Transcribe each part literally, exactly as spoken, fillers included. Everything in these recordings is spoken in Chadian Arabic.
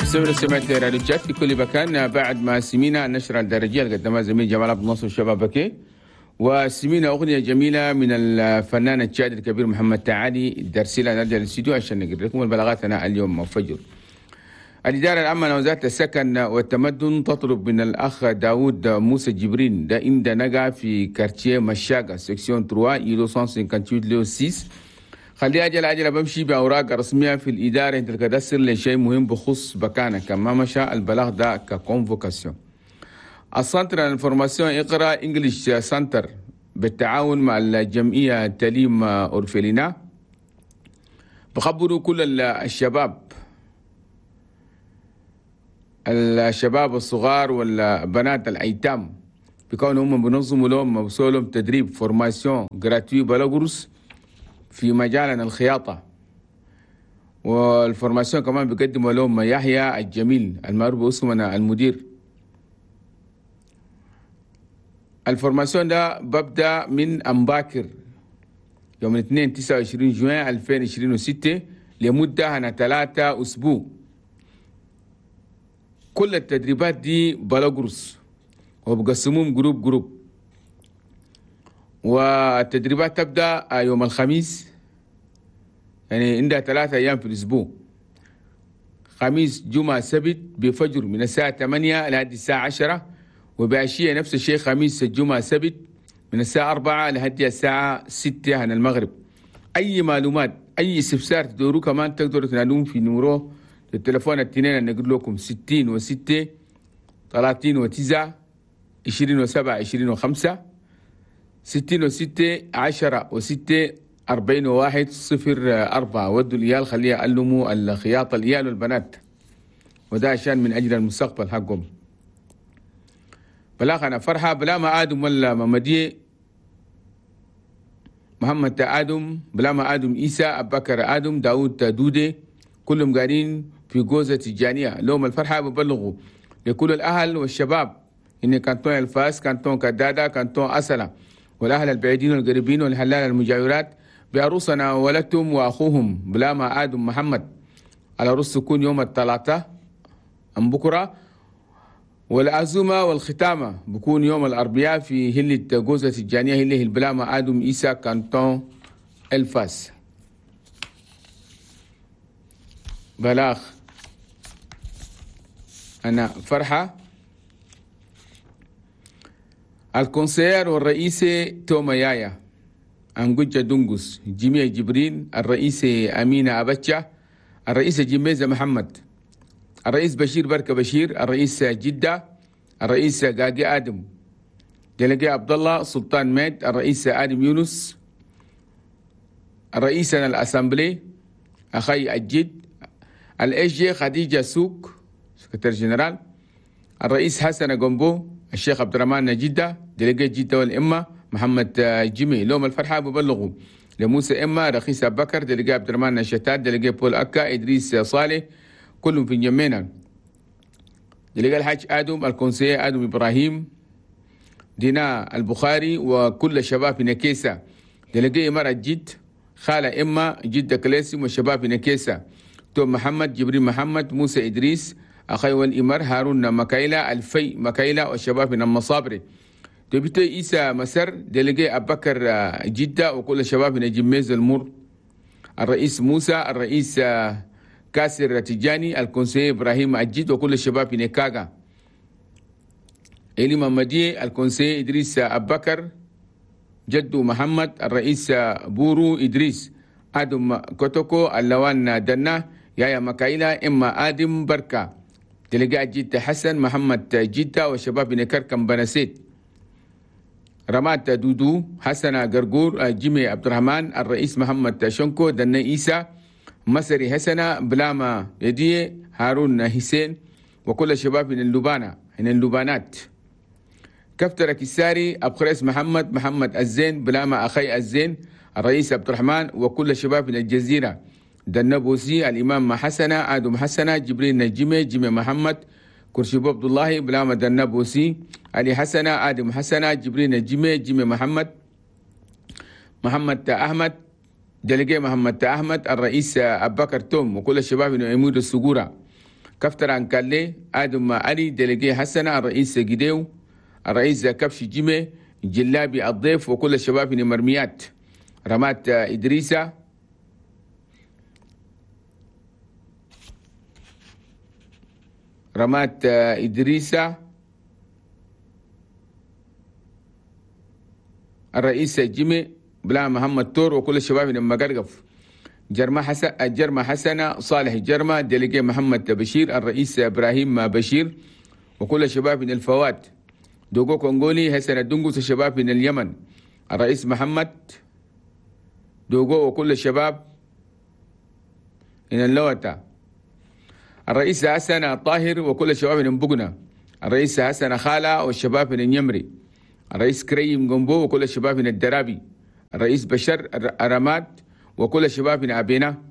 سمعنا سمعت راديو تشاد في كل مكان. بعد ما سمينا النشرة الدرجية اللي قدمها زميل جمال عبد الناصر شباب بكي، وسمينا أغنية جميلة من الفنان التشادي الكبير محمد تعالي الدرسيلة. نرجع للاستديو عشان نقرأ لكم البلاغات اليوم فجر. الإدارة العامة لوزارة السكن والتمدن تطلب من الأخ داود موسى جبرين ده إن نقع في quartier مشاقة section ثلاثة îlot مية وثمانية وخمسين lot ستة. خليه أجل أجل بمشي بأوراق رسمية في الإدارة انت ال cadastre لشيء مهم بخص بكانة كما مشى البلاغ ده ك convocation. ال centre information اقرأ English Center بالتعاون مع الجمعية التعليم orphelinat بخبروا كل الشباب الشباب الصغار والبنات الأيتام بكون هم بنظموا لهم بسوا لهم تدريب formation gratuite بلا قرص في مجال الخياطة. وال formation كمان بيقدموا لهم يحيى الجميل المعروف باسمنا المدير. ال formation ده ببدأ من أمباكر يوم الاثنين تسعة وعشرين جوان ألفين وعشرين وستة لمدة هنا ثلاثة أسبوع. كل التدريبات دي بلا قرص وبقسموهم groupe groupe. والتدريبات تبدأ يوم الخميس، يعني عندها ثلاثة أيام في الأسبوع، خميس جمعة سبت بفجر من الساعة ثمانية لحد الساعة عشرة، وبعشية نفس الشيء خميس الجمعة سبت من الساعة أربعة لحد الساعة ستة عن المغرب. أي معلومات أي استفسار تدوروا كمان تقدروا تنادون في numéro التليفون التنين اللي نقول لكم ستين وستة ثلاثين وتسعة عشرين وسبعة عشرين وخمسة ستين وستة عشرة وستة أربعين وواحد صفر أربعة. ودوا الإيال خليها يعلموا الخياطة الإيال والبنات، وده عشان من أجل المستقبل حقهم. بلاغ أنا فرحة بلا ما آدم ولا ممدي محمد آدم بلا ما آدم إيسى أبكر آدم داود دودي كلهم قاعدين في جوزة تجانية. لهم الفرحة ببلغوا لكل الأهل والشباب إن كانتون الفاس كانتون كدادة كانتون أسلة والأهل البعيدين والقريبين والهلال المجاورات بعروسنا وولدتهم وأخوهم بلا ما آدم محمد على رؤوس تكون يوم الثلاثاء أم بكرة، والعزومة والختامة بكون يوم الأربعاء في هلة جوزة الجانية هلة البلاما آدم إيسا كانتون الفاس. بلاغ أنا فرحة ال conseiller والرئيس توما يايا أنجوجا دونغوس جميع جبرين الرئيس أمينة أبتشا الرئيس جميزة محمد الرئيس بشير بركة بشير الرئيس جدة الرئيس قاقي آدم délégué عبد الله سلطان ميد الرئيس آدم يونس الرئيس ال assemblée أخي الجد ال SG خديجة سوق secrétaire général الرئيس حسن جنبو الشيخ عبد الرحمن جدة délégué جدة والإمة محمد جمي. لهم الفرحة ببلغوا لموسى إما رخيص أبو بكر délégué عبد الرحمن شتات délégué بول أكا إدريس صالح كلهم في جمينا. délégué الحاج آدم ال conseiller آدم إبراهيم دينا البخاري وكل الشباب في نكيسة. délégué إمارة جد خالة إما جدة كلاسم والشباب في نكيسة توم محمد جبريل محمد موسى إدريس أخي والإمر هارون مكايلة الفي مكايلة والشباب من المصابري. député إيسا مسر délégué أبو بكر جدة وكل الشباب من جميز المر الرئيس موسى الرئيس كاسر تجاني ال conseiller إبراهيم أجيد وكل الشباب في نكاغا. إلي ممدي ال conseiller إدريس أبو بكر جدو محمد الرئيس بورو إدريس آدم كوتوكو اللوان دنا يايا مكايلة إما آدم بركة délégué جدة حسن محمد جدة والشباب نكركم بنسيت رمات دودو حسن قرقور جيمي عبد الرحمن الرئيس محمد شنكو دنا إيسى مسري حسنة بلاما يدي هارون حسين وكل الشباب من اللبانة من اللبانات. كفتر كساري أبخريس محمد محمد الزين بلاما أخي الزين الرئيس عبد الرحمن وكل الشباب من الجزيرة دنبوسي الإمام حسنة آدم حسنة جبريل نجمي جيمي محمد كرشيبو عبد الله بلاما دنبوسي علي حسنة آدم حسنة جبريل نجمي جيمي محمد محمد أحمد délégué محمد أحمد الرئيس أبو بكر توم وكل الشباب من عمود السجورة. كفتر عنكالي آدم علي délégué حسنة الرئيس جديو الرئيس كبش جيمي جلابي الضيف وكل الشباب من مرميات رمات إدريسة رمات إدريسة الرئيس جيمي بلا محمد تور وكل الشباب من مقرقف جرما حسن جرما حسنة صالح جرما délégué محمد بشير الرئيس إبراهيم بشير وكل الشباب من الفوات دوغو كونغولي حسن الدنقوس الشباب من اليمن الرئيس محمد دوغو وكل الشباب من اللوتا الرئيس حسن طاهر وكل الشباب من بقنا الرئيس حسن خالة والشباب من اليمري الرئيس كريم جنبو وكل الشباب من الدرابي الرئيس بشر رماد وكل الشباب من أبينا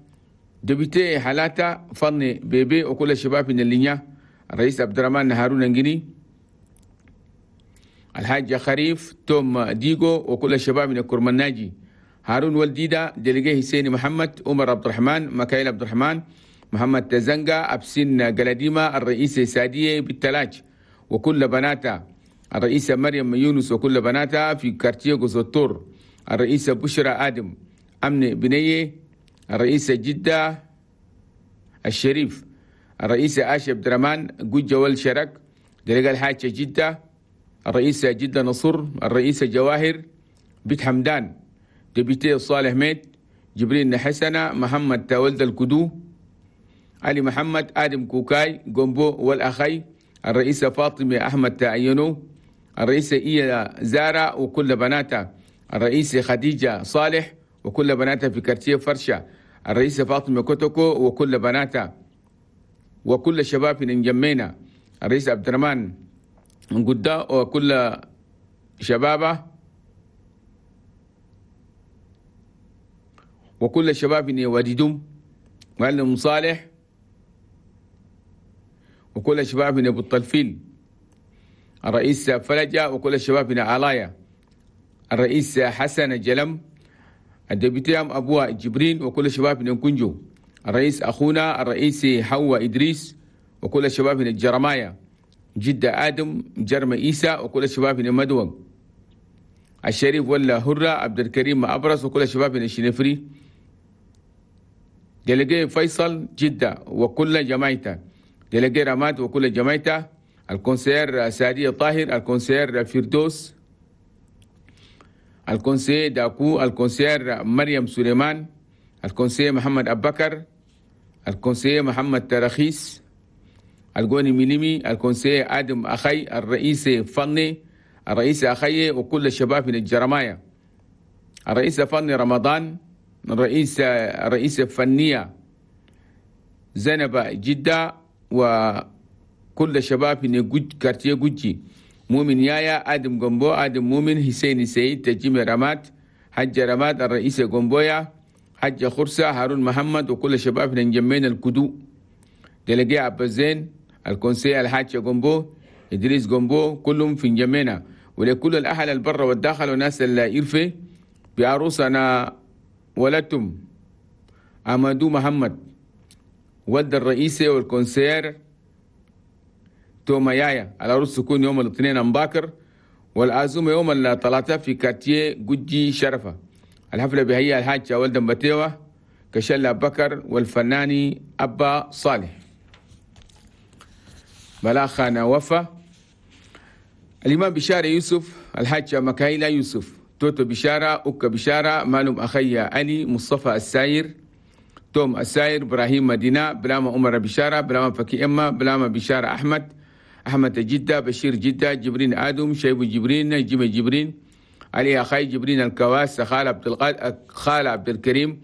député حالاتا فني بيبي وكل الشباب من اللينيا الرئيس عبد الرحمن هارون انجني الحاج خريف توم ديغو وكل الشباب من الكرمناجي هارون والديدا délégué حسين محمد عمر عبد الرحمن مكايل عبد الرحمن محمد تزنقا أبسين قلديمة الرئيس سادية بالتلاج وكل بناتا الرئيسة مريم يونس وكل بناتها في quartier قوزوتور الرئيسة بشرى آدم أمن بنية الرئيسة جدة الشريف الرئيسة آشة عبد الرحمن جوجة والشرك délégué الحاجة جدة الرئيسة جدة نصر الرئيسة جواهر بيت حمدان député صالح ميت جبريل حسنة محمد ولد الكدو علي محمد آدم كوكاي جومبو والأخي الرئيسة فاطمة أحمد تعينو الرئيسة إيا زارا وكل بناتها الرئيسة خديجة صالح وكل بناتها في quartier فرشة الرئيسة فاطمة كوتوكو وكل بناتها وكل شباب من جمينا الرئيس عبد الرحمن قدا وكل شبابه وكل شباب من وادي معلم صالح وكل شباب من ابو الطلفيل الرئيس فلجة وكل الشباب من علايا الرئيس حسن جلم ال député أبوه جبرين وكل الشباب من كنجو الرئيس أخونا الرئيس حوا إدريس وكل الشباب من الجرمايا جدة آدم جرم إيسا وكل الشباب من مدوم الشريف ولا هرة عبد الكريم أبرز وكل الشباب من الشنفري délégué فيصل جدة وكل جماعته délégué رماد وكل جماعته ال conseillère سعدية طاهر ال conseillère فردوس ال conseiller داكو ال conseillère مريم سليمان ال conseiller محمد أبكر ال conseiller محمد ترخيص الجوني ميليمي ال conseiller آدم أخي الرئيس فني الرئيس أخي وكل الشباب من الجرمايا الرئيس فني رمضان الرئيس الرئيس الفنية زينب جدة وكل الشباب من جوج quartier جوجي مؤمن يايا آدم جنبو آدم مؤمن حسين سيد تجيم رمات حج رمات الرئيس جنبويا حج خرسة هارون محمد وكل الشباب من جمين الكدو délégué عبد الزين ال conseiller الحاج جنبو إدريس جنبو كلهم في جمينا ولكل الأهل البر والداخل وناس الإرفي بعروسنا ولدتم أمادو محمد ولد الرئيسي وال conseillère توما يايا العروس تكون يوم الاثنين مباكر والعزومة يوم الثلاثاء في quartier جوجي شرفة. الحفلة بهي الحاج ولد بتيوة كشلة بكر والفناني أبا صالح. بلاخانا وفا الإمام بشارة يوسف الحاج مكايلة يوسف توتو بشارة أوكا بشارة مالوم أخي علي مصطفى الساير توم الساير إبراهيم مدينة بلاما عمر بشارة بلاما فكي إما بلاما بشارة أحمد أحمد جدة بشير جدة جبرين آدم شيب جبرين جيم جبرين علي أخي جبرين الكواس خال عبد القادر خال عبد الكريم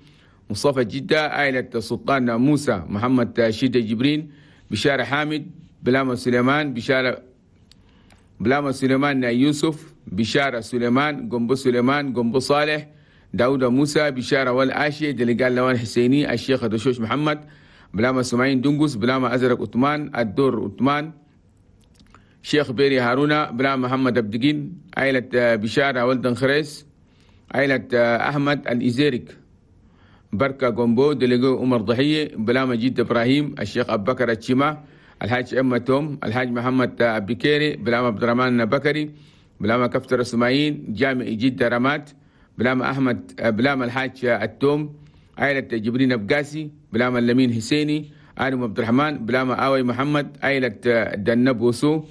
مصطفى جدة عائلة سلطان موسى محمد شيدة جبرين بشارة حامد بلاما سليمان بشارة بلاما سليمان يوسف بشارة سليمان قنبو سليمان قنبو صالح داود موسى بشارة والعاشي دلقال لوان حسيني الشيخ دشوش محمد بلاما سمعين دنقس بلاما أزرق عثمان الدور عثمان شيخ بيري هارونا بلاما محمد أبدقين عائلة بشارة ولدن خريس عائلة أحمد الإزيرك بركة قنبو دلقو عمر ضحية بلاما جد إبراهيم الشيخ أبو بكر الشيما الحاج أما توم، الحاج محمد بكيري، بلام عبد الرحمن بكري، بلام كفتر سمايين، جامع جدة رمات، بلام أحمد، بلام الحاج التوم، عائلة جبرين أبقاسي، بلام اللمين حسيني، آدم عبد الرحمن، بلام آوي محمد، عائلة دنب وسو،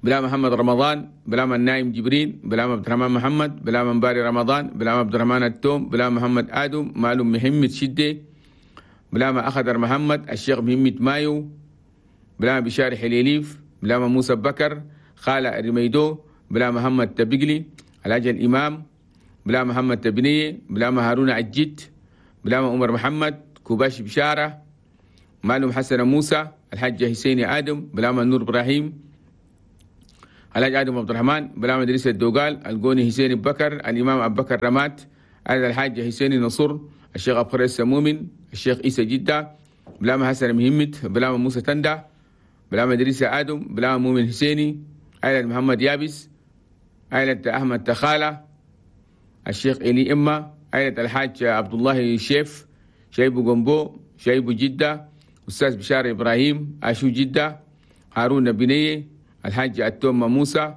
بلام محمد رمضان، بلام النايم جبرين، بلام عبد الرحمن محمد، بلام مباري رمضان، بلام عبد الرحمن التوم، بلام محمد آدم، مالو محمد شدة، بلام أخضر محمد، الشيخ محمد مايو، بلام بشار حليليف، بلام موسى بكر، خالة رميدو، بلام محمد تبقلي، الحاج الإمام، بلام محمد تبنية، بلام هارون عجيت، بلام عمر محمد، كوباش بشارة، معلوم حسن موسى، الحاج حسيني آدم، بلام النور إبراهيم، الحاج آدم عبد الرحمن، بلام إدريس الدوغال، القوني حسين بكر، الإمام أبو بكر رمات، الحاج حسيني نصر، الشيخ أبو خريس مؤمن، الشيخ عيسى جدة، بلام حسن مهمت، بلام موسى تندة، بلام إدريس آدم، بلام مؤمن حسيني، عائلة محمد يابس، عائلة أحمد تخالة، الشيخ إلي إما، عائلة الحاج عبد الله شيف، شايبو جنبو، شايبو جدة، أستاذ بشار إبراهيم، أشو جدة، هارون بنية، الحاج التوم موسى،